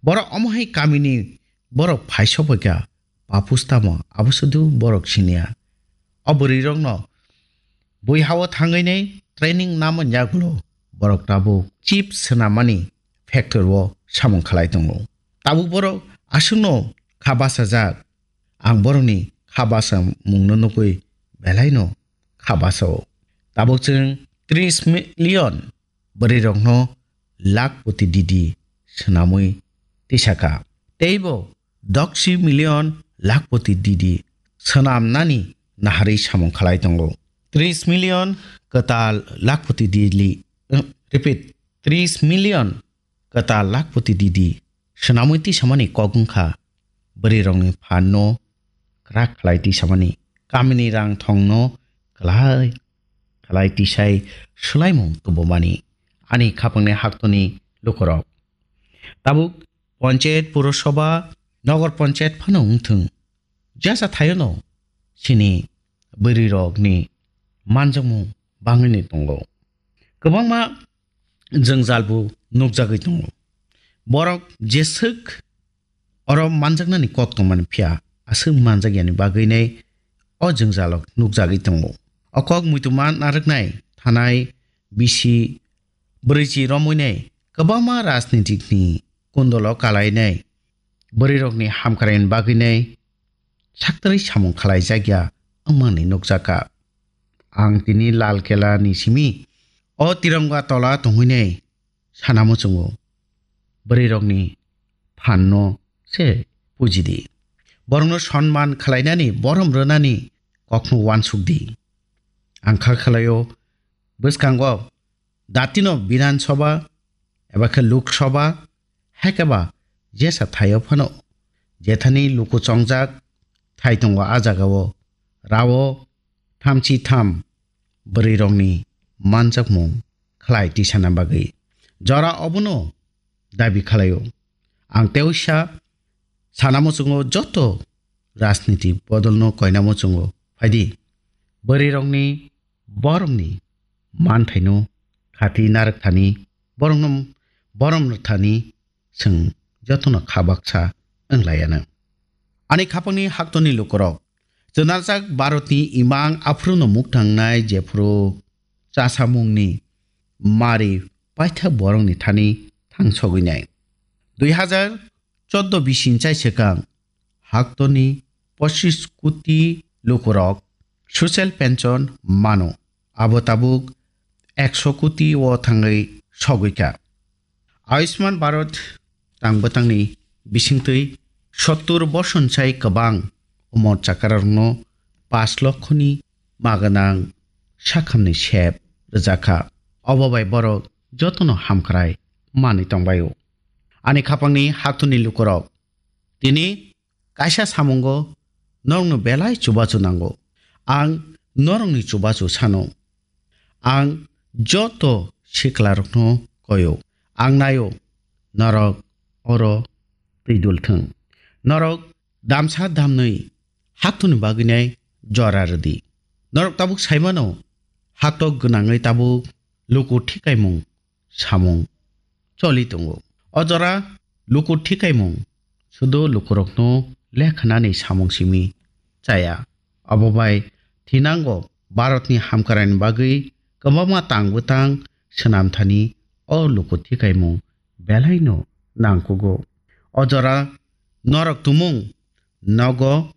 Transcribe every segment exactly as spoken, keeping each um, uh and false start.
Borok omo hai kamini borok phai sophaikha, papus tamo abo sudu borok siniya. O bwrwirokno bui hao thangwi nai training namo yagulo borok tabuk chip swnamani factory o samung khlai tongo. Tabuk borok aswkno kha bachajak, ang borokni kha basa mungno nugwi belaino kha basao. Tabuk chwng tris million bwrwirokno lakhpoti didi swnamwi tisaka. Teibo doksi million lakhpoti didi swnamnani naharwi samung khlai tongo. Tris million kwtal lakhpoti didi, eh, repeat, tris million kwtal lakhpoti didi swnamwi tisamani kok wngkha bwrwirokni phanno kwrak khlai tisamani, kamini rang thongno kwlai khlai tisai swlaimung tubumani. Ani khapangni haktoni lukurok. Tabuk panchayat, purosabha, nogor panchayat phano wngthung, jesa thayono chini bwrwirokni manjakmung bangwini tongo. Kwbangma jwngjalbo nukjagwi tongo. Borok jeswk oro manjaknani kok tongmani phiya, aswk manjakyani bagwi nai o jwngjalo nukjagwi tongo. O kok muitu ma narwknai thanai bisi bwrwichi romwi nai kwbangma rajnitikni kundolo kalainai bwrwirokni hamkraini bagwi nai saktarwi samung khlaijakya wngmani nukjakha. Ang tini Lal Kela ni simi o tironga tola tongwi nai sana muchungo. Bwrwirokni phanno se pujidi. Borokno sonman khlainani, borom rwnani kokno uansukdi. Ang kha khlaio bwskango datino Bidhan Sabha eba khe Lok Sabha, hai khe ba jesa thaio phano jethani luku chongjak thai tongo a jagao, rao thamchi tham bwrwirokni manjakmung khlai tisana bagwi jora obono dabi khlaio. Ang teisa sana muchungo joto rajniti bodolno koina muchungo phaidi. Bwrwirokni borokni manthaino khati narwkthani, borokno borom rwthani chwng jotono kha baksa wnglaiyano. Ani khapangni haktoni lukurok, chwnarjak Bharatni imang aphruno muktangnai jephru chasamungni mari paitha borokni thani thangsogwinai. Dui hazar chordo bising chai swkang haktoni pochis koti lukurok social pension mano, abo tabuk ekso koti o thangwi sogwikha. Ayushman Bharat tang bwtangni bisingtwi sottur boson chai kwbang umor chakararokno pash lokhoni maganang sakhamni sep rwjakha. Obo bai borok jotono hamkrai manwi tongbaio. Ani khapangni haktoni lukurok, tini kaisa samungo norokno belai chubachu nango. Ang norokni chubachu sano. Ang joto siklarokno koyo. Ang naio, norok oro twi dul thung. Norok damsa damnwi haktoni bagwinai jora rwdi. Norok tabuk saimano, haktok gwnangwi tabuk luku thikaimung samung choli tongo. O jora luku thikaimung sudu lukurokno lekhanani samung simi chaya. Abo bai thinango Bharatni hamkraini bagwi kwbangma tang bwtang swnamthani o luku thikaimung belaino nangkugo. O jora norok tumung nogo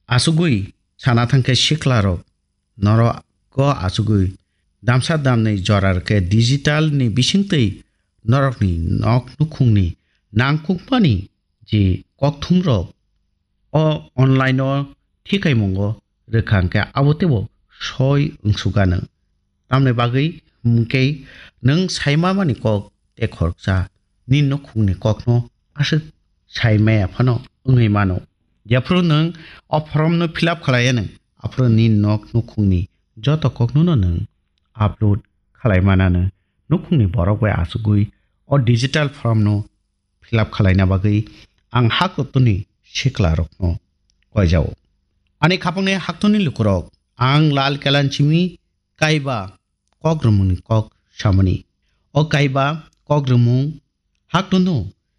achugwi sana thangkhe siklarok norok o achugwi damsa damnwi jora rwkhe digital ni bisingtwi norokni nok nukhungni nangkukmani je kokthumrok o online o thikaimungo rwkha hwnkhe abo teibo soi wngsugano. Tamni bagwi hwnkhe nwng saimamani kok tei khoroksa nini nukhungni kokno aswk saimaya phano wngwi mano. Jephru nwng o form no fill up khlaiya nwng, aphuru nini nok nukhungni joto kokno no nwng upload khlai manano. Nukhungni borok bai achugwi o digital form no fill up khlaina bagwi ang haktorni siklarokno koijao. Ani khapangni haktorni lukurok, ang Lal Kelan simi kaiba kok rwmungni kok samani. O kaiba kok rwmung haktorno